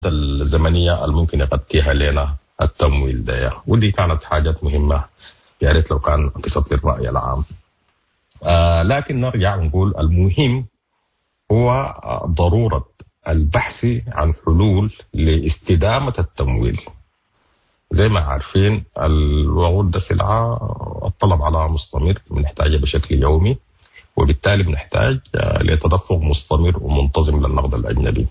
الزمنية الممكن يغطيها لنا التمويل ده، ودي كانت حاجات مهمة يا ريت لو كان قصت للراي العام. لكن نرجع ونقول المهم هو ضرورة البحث عن حلول لاستدامه التمويل. زي ما عارفين الوقود ده سلعه الطلب عليها مستمر، بنحتاجها بشكل يومي، وبالتالي بنحتاج لتدفق مستمر ومنتظم للنقد الاجنبي،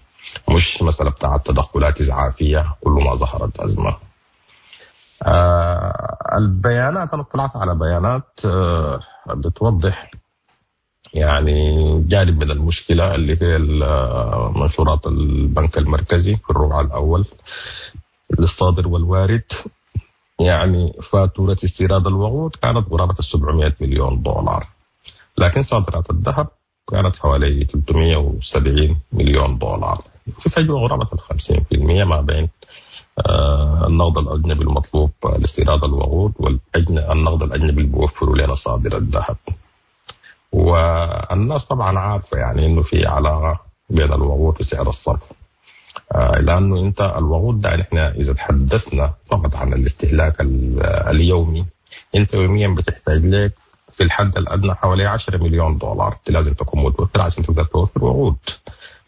مش مسألة بتاعت تدخلات إسعافية كل ما ظهرت أزمة. البيانات، أنا اطلعت على بيانات بتوضح يعني جانب من المشكلة اللي هي منشورات البنك المركزي في الربع الأول للصادر والوارد. يعني فاتورة استيراد الوقود كانت قرابة 700 مليون دولار، لكن صادرات الذهب كانت حوالي 370 مليون دولار، في فجوة قرابة 50% ما بين النقد الأجنبي المطلوب لاستيراد الوقود والنقد الأجنبي اللي بيوفره لنا صادر الذهب. والناس طبعا عارفة يعني إنه في علاقة بين الوقود وسعر الصرف، لأنه أنت الوقود ده نحن إذا تحدثنا فقط عن الاستهلاك اليومي، أنت يوميا بتحتاج لك في الحد الأدنى حوالي 10 مليون دولار لازم تكون متوفرة عشان تقدر توفر وقود.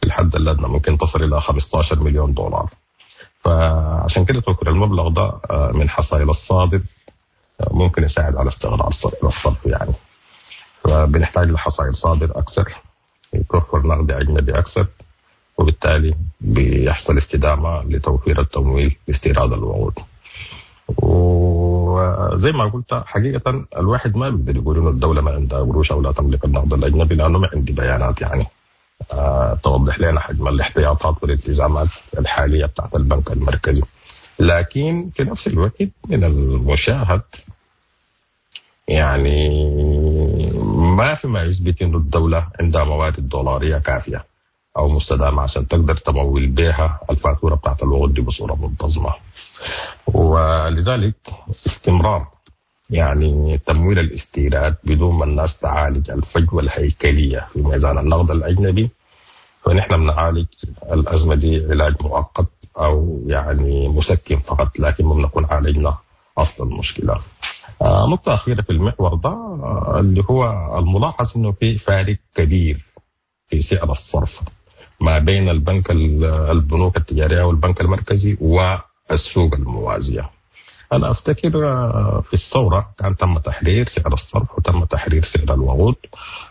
في الحد الأدنى ممكن تصل إلى 15 مليون دولار. فعشان كده توفر المبلغ ده من حصائل الصادر ممكن يساعد على استقرار الصرف يعني. فبنحتاج لحصائل صادر أكثر، يتوفر نقد أجنبي أكثر، وبالتالي بيحصل استدامة لتوفير التمويل لاستيراد الوقود. وزي ما قلت حقيقة الواحد ما بيقدر يقول إنه الدولة ما عندها قروش أو لا تملك النقد الأجنبي، لأنه ما عندي بيانات يعني توضح لنا حجم الاحتياطات والالتزامات الحالية بتاعت البنك المركزي. لكن في نفس الوقت من المشاهد يعني ما في ما يثبت إنه الدولة عندها موارد دولارية كافية أو مستدامة عشان تقدر تمول بها الفاتورة بتاعت الوقود دي بصورة منتظمة. ولذلك استمرار يعني تمويل الاستيراد بدون ما الناس تعالج الفجوة الهيكلية في ميزان النقد الأجنبي، فنحن بنعالج الأزمة دي علاج مؤقت أو يعني مسكن فقط، لكن ما بنكون عالجنا أصل المشكلة. نقطة أخيرة في المحور ده اللي هو الملاحظ إنه في فارق كبير في سعر الصرف ما بين البنك البنوك التجارية والبنك المركزي والسوق الموازية. أنا أفتكر في الثورة كان تم تحرير سعر الصرف وتم تحرير سعر الوقود،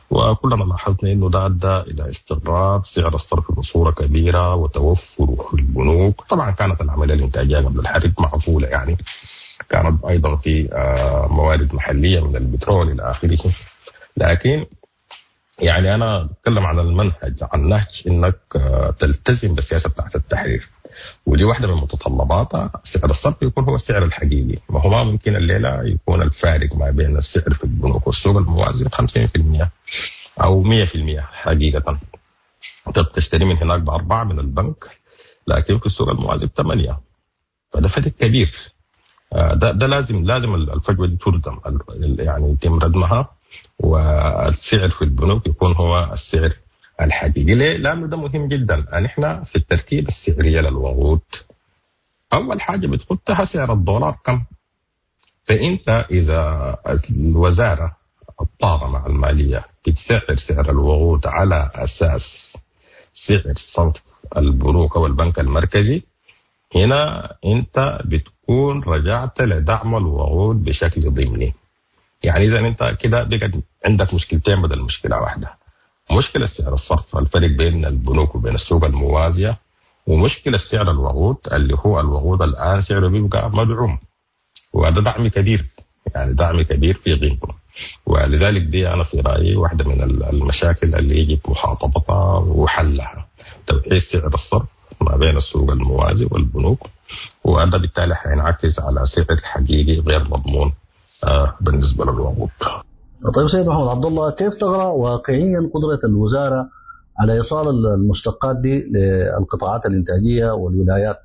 وكلنا لاحظنا أنه ده أدى إلى استقرار سعر الصرف بصورة كبيرة وتوفره في البنوك. طبعا كانت العملية الإنتاجية قبل الحرب معقولة يعني، كانت أيضا في موارد محلية من البترول إلى آخره، لكن يعني أنا بتكلم عن المنهج، عن نهج إنك تلتزم بالسياسة بتاعت التحرير، ودي واحدة من متطلباتها سعر الصرف يكون هو السعر الحقيقي. ما هو ما ممكن الليلة يكون الفارق ما بين السعر في البنوك والسوق الموازي 50% أو 100% حقيقة. أنت بتشتري من هناك ب4 من البنك، لكن في السوق الموازي ب8، فده فرق كبير. ده لازم الفجوة دي تردم، يعني يتم ردمها، والسعر في البنوك يكون هو السعر الحقيقي. ليه؟ لأنه ده مهم جدا. نحن في التركيبة السعرية للوقود أول حاجة بتحطها سعر الدولار كم. فأنت إذا الوزارة الطاقة مع المالية بتسعر سعر الوقود على أساس سعر صرف البنوك أو البنك المركزي، هنا أنت بتكون رجعت لدعم الوقود بشكل ضمني. يعني إذا أنت كده بقى عندك مشكلتين بدل مشكلة واحدة، مشكلة سعر الصرف الفرق بين البنوك وبين السوق الموازية، ومشكلة سعر الوقود اللي هو الوقود الآن سعره بيبقى مدعوم، وهذا دعم كبير، يعني دعم كبير في قيمته. ولذلك دي أنا في رأيي واحدة من المشاكل اللي يجب مخاطبتها وحلها، توحيد سعر الصرف ما بين السوق الموازي والبنوك، وهذا بالتالي حينعكس على سعر حقيقي غير مضمون بالنسبة للوقود. طيب سيد محمد عبد الله، كيف تقرأ واقعيا قدرة الوزارة على إيصال المشتقات دي للقطاعات الإنتاجية والولايات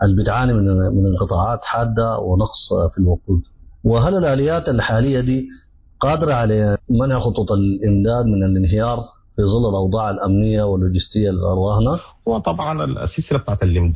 اللي بتعاني من انقطاعات حادة ونقص في الوقود؟ وهل الآليات الحالية دي قادرة على منع خطوط الإمداد من الانهيار في ظل الأوضاع الأمنية واللوجستية الراهنة؟ وطبعا السلسلة بتاعت الإمداد